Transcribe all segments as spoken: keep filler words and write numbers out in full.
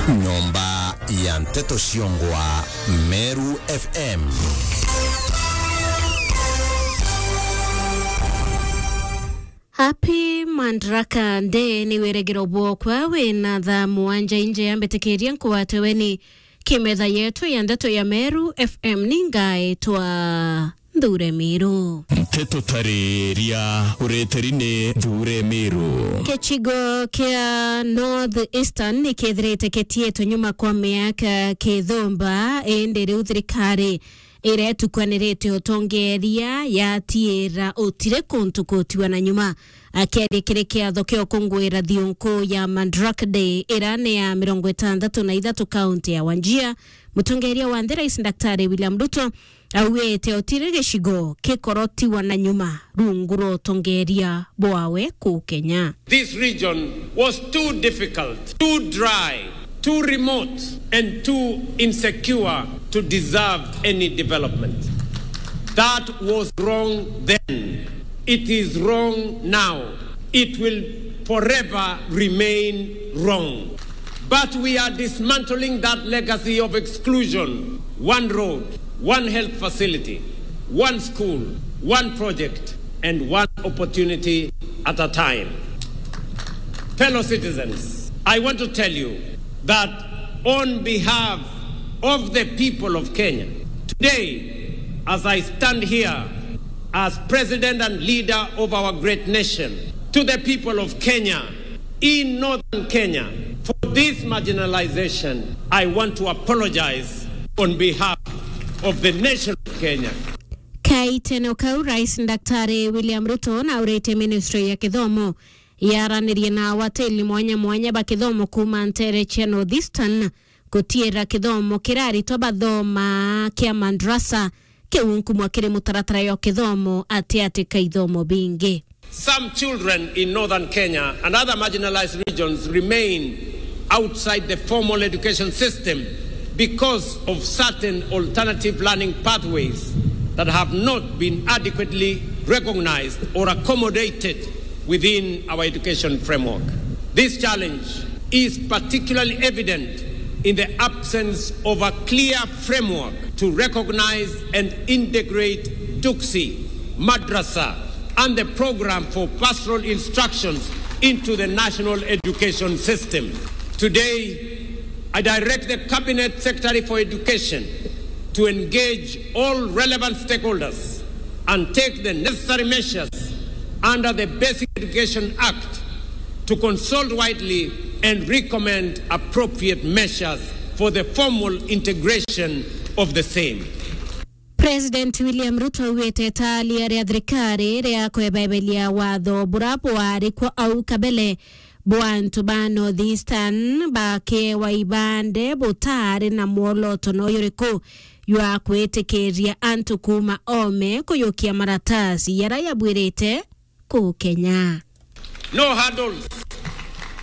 Nyomba ya nteto ciongwa Meru F M. Happy Madaraka Day ni wiregero bwokwa wina thaa mugwanja inje ya mbitikiria nkwate weni kimetha yetu ya ndeto ya Meru F M ni ngaitwa Nthure Miru. Nteto tariria ureteri ni Nthure Miru. Gicigo kia North Eastern ni kethirite kitietwe nyuma kwa miaka kithumba, indi riu thirikari iria itukwanirite utongeria yatiira utire kuntu kutiwa na nyuma. Akiaria kiri kiatho kia ukunguira thiunku ya Madaraka Day iria ni ya mirongo itantatu na ithatu kaunti ya Wajir, mutongeria wa nthi Rais Daktari William Ruto augite utiri gicigo kikorotiwa na nyuma rungu rwa utongeria bwawe kuu Kenya. This region was too difficult, too dry, too remote, and too insecure to deserve any development. That was wrong then. It is wrong now. It will forever remain wrong. But we are dismantling that legacy of exclusion. One road, one health facility, one school, one project, and one opportunity at a time. Fellow citizens, I want to tell you that on behalf of the people of Kenya, today, as I stand here as president and leader of our great nation, to the people of Kenya, in northern Kenya, for this marginalization, I want to apologize on behalf of the nation of Kenya. Kaitene kau, Rais Daktari William Ruto naurite Ministry ya Kithomo yaranirie na awateli mwanya mwanya ba kithomo kuuma ntere cia North Eastern gutiira kithomo kiria aritwa bathoma kia madrasa kiu nkumwa kiri mutaratara yo kithomo ati ati ka ithomo bingi. Some children in northern Kenya and other marginalized regions remain outside the formal education system because of certain alternative learning pathways that have not been adequately recognized or accommodated within our education framework. This challenge is particularly evident in the absence of a clear framework to recognize and integrate TUKSI, madrasa, and the program for pastoral instructions into the national education system. Today, I direct the Cabinet Secretary for Education to engage all relevant stakeholders and take the necessary measures under the Basic Education Act to consult widely and recommend appropriate measures for the formal integration of the same. President William Ruto augite itaaria ria thirikari ria kwebeberia watho bura bwari kwa au kabele bwa antu ba North Eastern bakewa ibande butaari na mwoloto no yuriku jwa kwitikiria antu kuuma oome kuyukia maratasi jaria jabwirite kuu Kenya. No hurdles,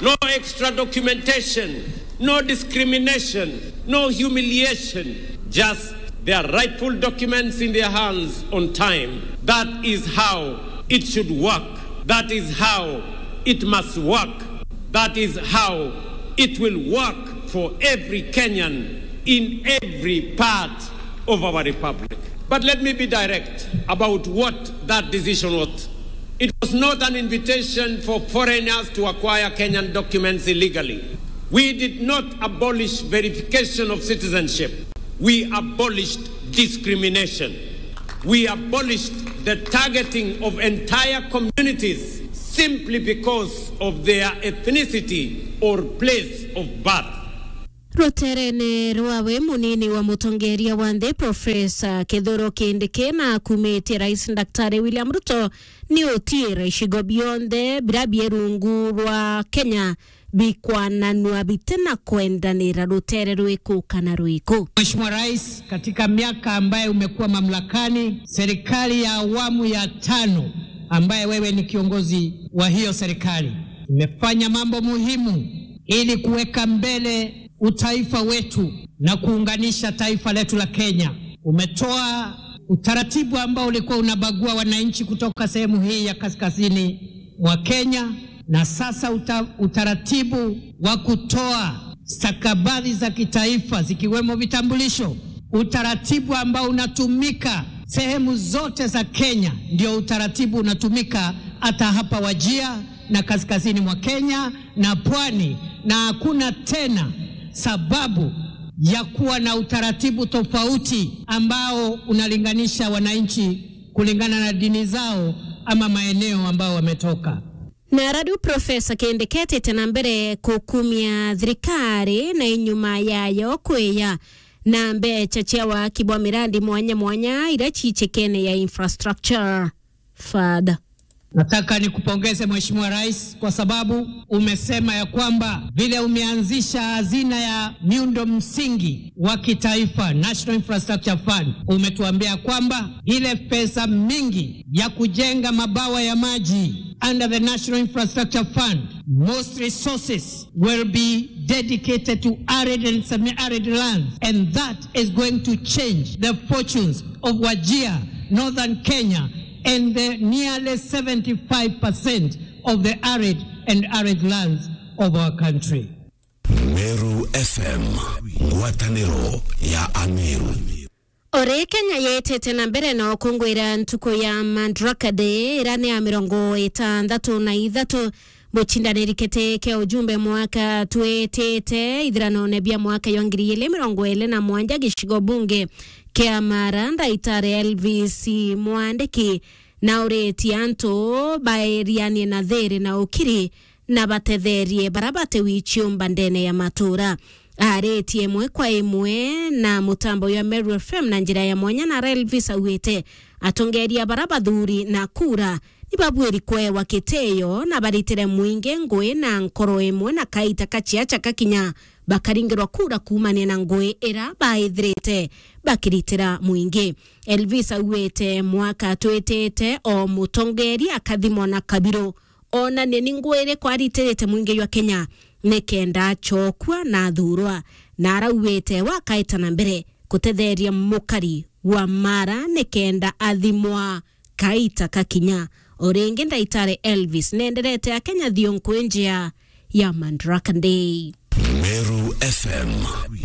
no extra documentation, no discrimination, no humiliation, just their rightful documents in their hands on time. That is how it should work. That is how it must work. That is how it will work for every Kenyan in every part of our republic. But let me be direct about what that decision was. It was not an invitation for foreigners to acquire Kenyan documents illegally. We did not abolish verification of citizenship. We abolished discrimination. We abolished the targeting of entire communities simply because of their ethnicity or place of birth. Ruterene rwawe, munini wa mutongeria wa nthi Profesa Kithure Kindiki na akumitie Rais Daktari William Ruto ni utiira icigo bionthe biria bie rungu rwa Kenya bikwananua bite na kwendanira rutere rwiku kana rwiku. Mheshimiwa Rais, katika miaka ambaye umekuwa mamlakani, serikali ya awamu ya tano ambaye wewe ni kiongozi wa hiyo serikali imefanya mambo muhimu ili kuweka mbele utaifa wetu na kuunganisha taifa letu la Kenya. Umetoa utaratibu ambao ulikuwa unabagua wananchi kutoka sehemu hii ya kaskazini mwa Kenya, na sasa uta-, utaratibu wa kutoa stakabadhi za kitaifa zikiwemo vitambulisho, utaratibu ambao unatumika sehemu zote za Kenya ndio utaratibu unatumika hata hapa Wajir na kaskazini mwa Kenya na pwani, na hakuna tena sababu ya kuwa na utaratibu tofauti ambao unalinganisha wananchi kulingana na dini zao ama maeneo ambao wametoka. Na radu Profesa Kindiki etete na mbere kukumia thirikari na inyuma yayo kwiya na mbecha cia waki bwa mirandi mwanya mwanya iria ciichikene ya infrastructure fund. Nataka nikupongeze Mheshimiwa Rais kwa sababu umesema ya kwamba vile umeanzisha hazina ya miundo msingi wa kitaifa, National Infrastructure Fund, umetuambia kwamba ile pesa mingi ya kujenga mabawa ya maji under the National Infrastructure Fund, most resources will be dedicated to arid and semi-arid lands, and that is going to change the fortunes of Wajir, Northern Kenya, and the nearly seventy-five percent of the arid and arid lands of our country. Meru F M, ngwataniro ya Ameru. Ori Kenya yetete na mbere na ukungwira ntuku ya Madaraka Day, ira ni ya mirongo itandatu na ithatu. Mucindaniri kiti kia ujumbe mwaka twitite ithiranone bia mwaka jwa ngiri igiri mirongo iri na mwanja gicigo bunge kia Mara, Ndaitari Elvis Mwandiki, na uritie antu bairianie na thiri na ukiri na batetherie bara bati wiciumba ndene ya matura. Aritie imwe kwa imwe na mutambo jwa Meru F M na njira ya mwanya, na Elvis augite atongeria bara bathuri na kura ni babwiri kwewa kitio na baritire mwingi ngui na nkoro imwe na kaita kaciaca kakinya bakaringirwa kura kuumania na ngui ira baithirite bakiritira mwingi. Elvis augite mwaka twitite o mutongeria akathimwa na kabiru, onanie ni ngui iriku aritirite mwingi jwa Kenya nikenda acokua na athurwa, na arauite wakaita na mbere kutetheria mukari wa Mara nikenda athimwa kaita kakinya. O ringi Ndaitari Elvis nenderete Akenya thionku njia ya Madaraka Day. Meru F M,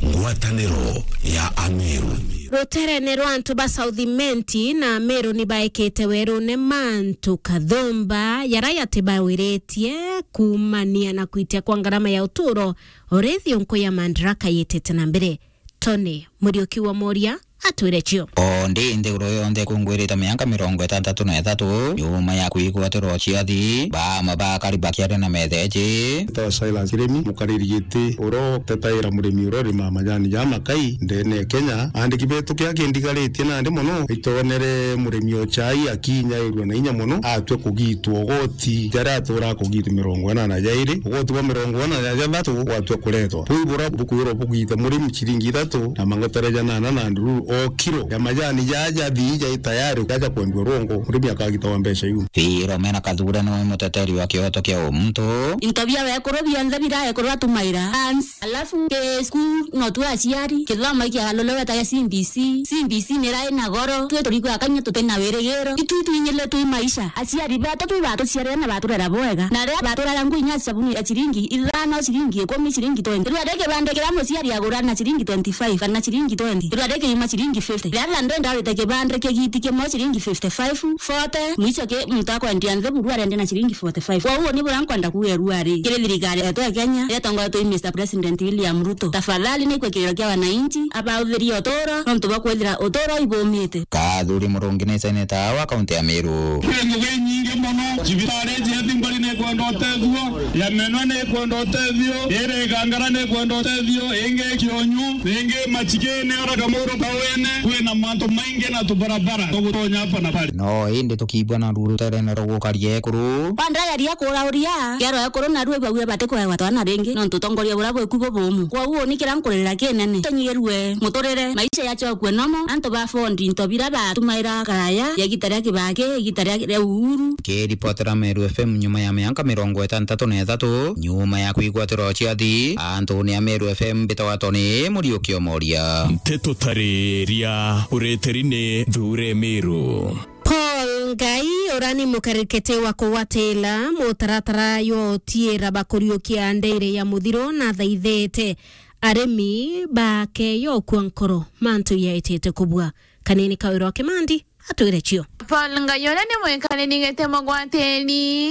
ngwataniro ya Ameru. Ruterene rwa antu ba South Imenti na Ameru ni baikite werune mantu kathumba jara yatibawiritie kuumania na kwitia kwa ngarama ya uturo, o ri thionku ya Madaraka yitite na mbere. Tony Muriuki wa Moria atwire cio. O ndi nthiguru yonthe ikungwirite miaka mirongo itantatu na ithatu nyuma ya kwigwatirwa ciathi, baama bakari bakiaria na metheji. Ntawa Silas Kirimi, mukariri giti uria utetaira murimi uria urimaa majani ja makai ndene ya Kenya. Aandiki betu kiria kindigaritie nandi mono, itonere murimi o chai akinyairua na inya mono, atue kugitwa ugoti jaria atura kugitwa mirongo inana na jairi, ugoti bwa mirongo inana na jathatu gwatua kuretwa. Bui bura bukwirwa bugite murimi ciringi ithatu na mangotere janana na ndururu o kiro ya majani jaja thii jai tayari jaja kwendiwa rwongo, murimi akagitawa mbeca iu. Philomena Kathure niwe muteteri wa kioto kia umuntu. Into bia wekuru bionthe bira ekuru atumaira. Ans, alafu ke school no tu aciari, kithomo ikiagalule wetaga C B C. C B C nirai na goro, twi turikwa akanya tuti na wirigiro. Itu twinyile twi maisha. Aciari betu twi batuciarire na baturera bwega. Na ria baturera ngui inya sabuni ya ciringi ithano, ciringi ikumi, ciringi twenty. Rua ri kibande kiria muciari agura na ciringi twenty-five kana ciringi twenty. Rua ri kiuma ciringi fifty. Ria landenda arite kibande kigiti kimwe ciringi fifty-five, forty, mwicho ki muntu akwendia nthe buru arendia na ciringi forty-five. Kwou ni buria nkwenda kuuga rua ri, kiri thirikari yetu ya Kenya, iria itongoretwe i Mister President William Ruto. Tafadhali ni kwikiriro kia wananchi, abauthirie uturo, nontu bwa kwithira uturo ibumite. Kathuri Murungi ni seneta wa kaunti ya Meru. Kwi ngugi inyingi mono, cibitari cia Thimbari ni ikwenda utethio, ya Menwa ni ikwenda utethio, iri Igangara ni ikwenda utethio, ingi Kionyu, ingi Machikini, ora Kamuru Kawene, kwina mantu maingi na tubarabara tugutonya hapa na pale. No indi tukiigua na ruru ruterene rwa gukaria ekuru. Bandageria kurauria kero ekuru, na rue bauria batikwewa twana ringi, nontu utongoria buria bweku bubumu. Kwou ni kiria nkuririra kinene. Tunyirue muturire, maisha yachokue nomo, antu ba fondi into bira batumaira karaya, ya igita ria Kibaki, igita ria, ria Uhuru. Kiripotera Meru F M nyuma ya miaka mirongo itantatu na ithatu, nyuma ya kwigwatirwa ciathi, antu ni a Meru F M mbitawa Tony Muriuki Omoria. Nteto tariria ureteri ni Thure Meru. Paul Ngai urani mukarikete wa kugwatila mutaratara jwa utiira bakuriukia ndeere ya muthiro na thaithete arimi bake yokua nkoro mantu yaitite kubua. Kanini Kawira wa Kimandi atwire cio. Paul Ngai uria ni mwikariri giti mugwatiri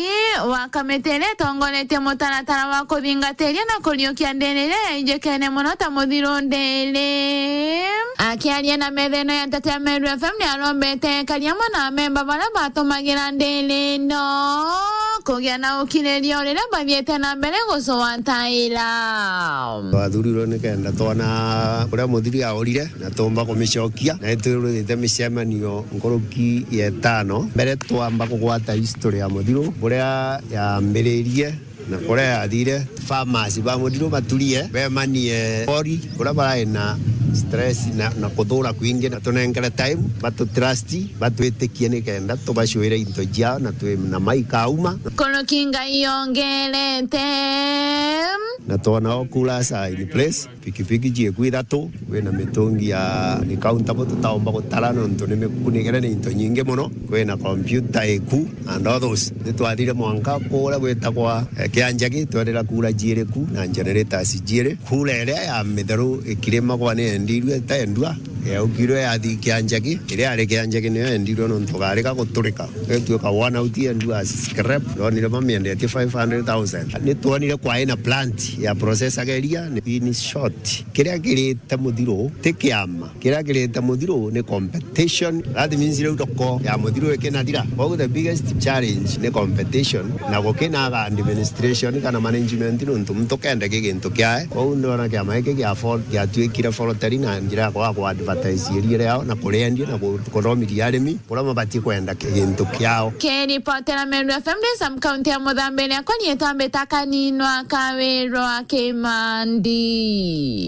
wa kamiti iria itongoretie mutaratara wa kuthingatiria na kuriukia ndeere iria yainjikene mono ta muthiro ndeere. Akiaria na metha ino ya Nteto ya Meru F M, ni arombete ekari amwe na amemba baria batumagira ndeere ino kugia na ukiriria o riria bathiite na mbere gucwataira. Twathurirwe nikenda twona uria muthiri aurire na tuumba kumicokia, na itwirutite micemanio nkuruki ya itano mbere twamba kugwata history ya muthiro, buria yambiririe na kuria yathire. Farmers ba muthiro baturie bemanie bori, uria barai na stress na, na kuthura kwingi, na tunenkere time batutrust, batwitikie nikenda tubacwire into ciao na twi na maikauma. Nkuruki Ngai yongerete. Na twona o coolers are in place, pikipiki cieku ithatu, kwina mitungi ya recountable tutaumba gutara nontu ni mikunigire ni into nyingi mono, kwina computer iku and all those. Nitwathire mwanka kuria gwitagwa, eh, Kianjagi, twerera kura ciiri ku na generators ciiri. Kura iria ya mitheru ikirimagwa ni yendirue itaendua, yaukirwe yathi Kianjagi, iria yari Kianjagi niyo yendirwe nontu garika guturika. Gituika one out yendu as scrap, ndonire bamiendetie five hundred thousand. Nitwonire kwaina plant ya process ageria, in short, kiria kirite muthiro ti kiama, kiria kirite muthiro ni competition. That means riu thoko ya muthiro ikinathira. Koguo the biggest challenge ni competition, na gukinaga administration kana management nontu muntu kenda ki gintu kiae. Koguo ndona kiama giki gia afford giatuikire foroteri na njira ya kwaga ku advertise iria riao na kuriendia na ku-, kuthomithia arimi kuria mabatie kwenda ki-, gintu kiao. Kiripotera Meru F M ndi sub county ya Muthambi, riakwa riitwa Mbita Kaninwa Kawirwa Kimandi.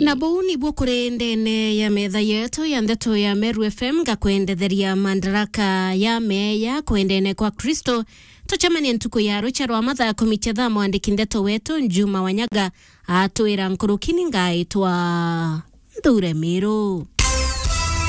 Na buu nibuo kuri ndene ya metha yetu ya ndeto ya Meru F M, ngakwendetheria Madaraka ya Meya kwendene kwa Kristo. Tucemanie ntuku ya rucia rwa mathaa kumi cia thaa, mwandiki ndeto wetu Juma Wanyaga atwira nkuruki ni ngaitwa Nthure Miru.